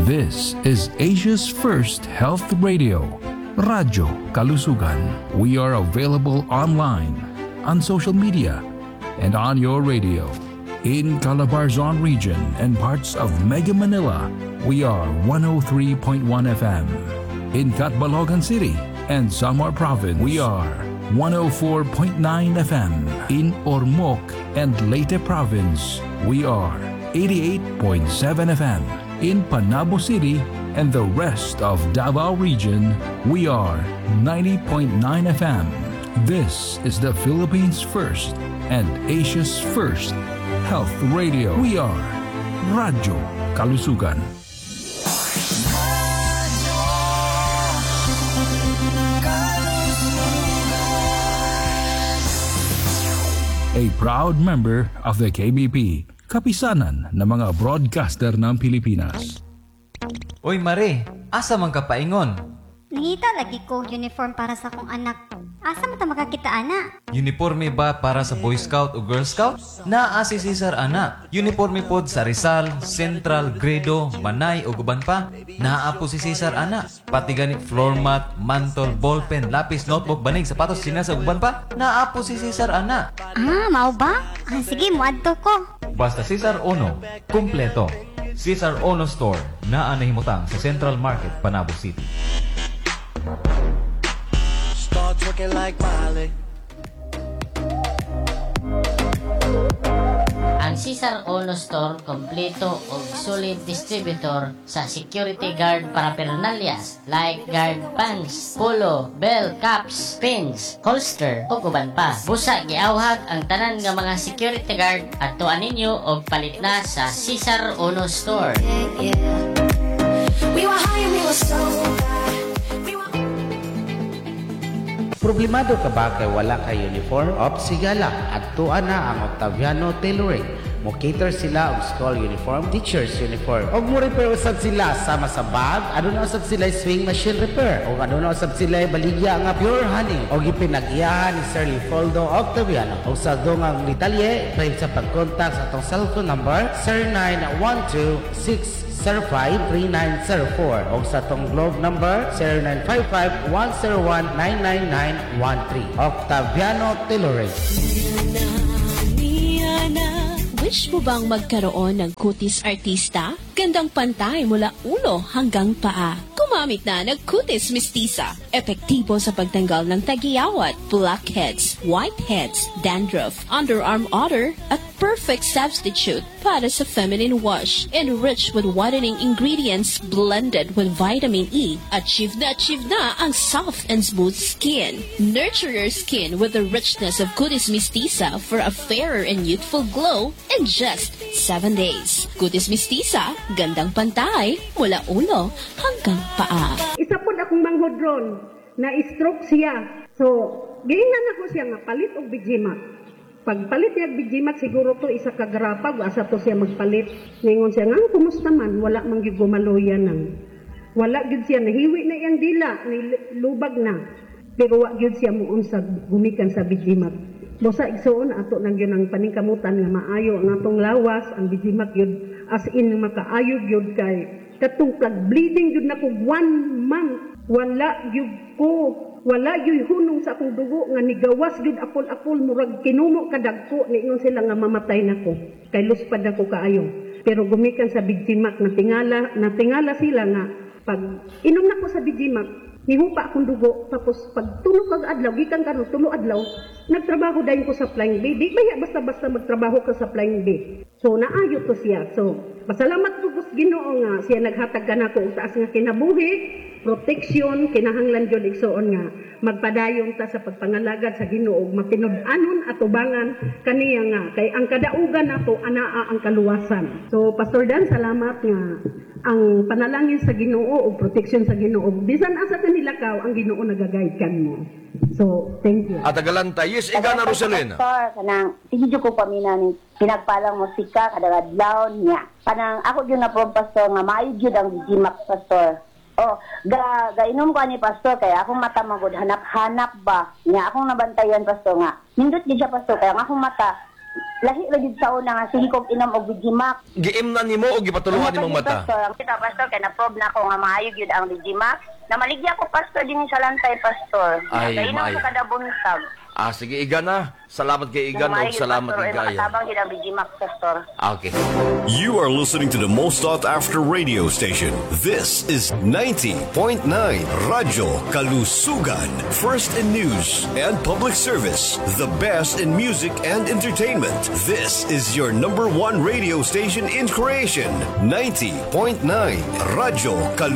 This is Asia's first health radio, Radyo Kalusugan. We are available online, on social media, and on your radio. In Calabarzon region and parts of Mega Manila, we are 103.1 FM. In Catbalogan City and Samar Province, we are 104.9 FM. In Ormoc and Leyte Province, we are 88.7 FM. In Panabo City and the rest of Davao Region, we are 90.9 FM. This is the Philippines' first and Asia's first health radio. We are Radyo Kalusugan. A proud member of the KBP, kapisanan ng mga broadcaster ng Pilipinas. Uy Mare, asa man ka paingon? Nangita lagi ko uniform para sa akong anak. Asa man ta makakita ana? Uniforme ba para sa Boy Scout o Girl Scout? Naa si Cesar ana. Uniforme pod sa Rizal, Central, Gredo, Manay ug uban pa. Naa po si Cesar ana. Pati gani floor mat, mantol, ballpen, lapis, notebook, banig, sapatos, sinas ug uban pa. Naa po si Cesar ana. Ah, mao ba? Ah, sige, moadto ko. Basta Cesar Ono, kumpleto. Cesar Ono Store, naa nahimutang sa Central Market, Panabo City. Start twerking like Miley. Ang Cesar Ono Store kompleto og solid distributor sa security guard paraphernalias like guard pants, polo, bell, caps, pins, holster ug uban pa. Busa giawhag ang tanan nga mga security guard adtuan ninyo og palit na sa Cesar Ono Store. We were high and we were so bad. We were Problemado ka ba kay wala kay uniform? Op sigala, adtuan na ang Octaviano Tailoring. Mo cater sila og school uniform, teachers uniform. Og mo repair usab sila sama sa bag, aduna usab sila sewing machine repair. Og aduna usab sila baligya nga pure honey. Og ipinag-iyahan ni Sir Leopoldo Octaviano. Og sa dungang detalye, pwede sa pag-contact sa atong cellphone number 0912 605-3904 o sa tong Globe number 0955-101-99913. Octaviano Tailoring. Wish mo bang magkaroon ng kutis artista? Gandang pantay mula ulo hanggang paa. Gumamit na ng Kutis Mestiza. Epektibo sa pagtanggal ng tagiyawat, blackheads, whiteheads, dandruff, underarm odor, at perfect substitute para sa feminine wash. Enriched with whitening ingredients blended with vitamin E. Achieve na ang soft and smooth skin. Nurture your skin with the richness of Kutis Mestiza for a fairer and youthful glow in just 7 days. Kutis Mestiza, gandang pantay mula ulo hanggang paa. Isa pod akong manghod ron na stroke siya. So, giingnan ako siya nga palit og Bijimac. Pagpalit niya og Bijimac, siguro to isa ka garapag, asa to siya magpalit. Ningon siya nga, kumusta man, wala man gyud gumaloya nang. Wala gyud siya, nahiwi na iyang dila, nilubag na. Pero wa gyud siya muunsag gumikan sa Bijimac. Busa igsuon ato nang gyud ang paningkamutan nga maayo ang atong lawas, ang Bijimac gyud as in makaayo gyud kay katong bleeding gyud nako 1 month, wala gyud ko, wala gyud hunong sa akong dugo nga nigawas gyud apol-apol, murag kinumo kadagko. Niingon sila nga mamatay nako kay luspad ako kaayo. Pero gumikan sa Bijimac, natingala sila nga pag inom nako sa Bijimac, nihupa akong dugo. Tapos pag tulo kag adlaw, gikan karon tulo adlaw, nagtrabaho dayon ko sa Flying B. Di baya basta-basta magtrabaho ka sa Flying B. So naayo to siya. So pasalamat ko sa Ginoo nga siya naghatag kanako og taas nga kinabuhi, protection, kinahanglan jud igsuon nga magpadayon ta sa pagpangalagad sa Ginoo ug matinud-anon atubangan kaniya nga kay ang kadaugan nato anaa ang kaluwasan. So Pastor Dan, salamat nga ang panalangin sa Ginoo ug protection sa Ginoo, bisan asa ka nilakaw, ang Ginoo nagaguide kanmo. So thank you. At agalanta, yes, ikaw na Rosalena. Pastor, kanang sige jud ko pamina ni pinagpalang musika kada adlaw niya. Kanang ako gyud na po pastor nga maayo gyud ang Bijimac pastor. Oh, ga gainom ko ani pastor kay akong mata magud hanap-hanap ba. Nya akong nabantayan pastor nga. Nindot gyud siya pastor kay ang akong mata Lahi ra gyud sa una nga sige kog inom og Digimax. Giimnan nimo o gipatuluan nimong mata? Pastor, kita, pastor, kay na-prove na ko nga maayo gyud ang Digimax. Namaligya ko, pastor, din sa lantay, pastor. Ay, Kainom maayo. ko kada buntag. Ah, sige, Igan na. Salamat kay Igan Maayo og salamat pastor, kay ay, Gaya. makatabang gyud ang Digimax, pastor. Ah, okay. You are listening to the most sought after radio station. This is 90.9 Radyo Kalusugan. First in news and public service. The best in music and entertainment. This is your number one radio station in creation. 90.9 Radyo Kalusugan.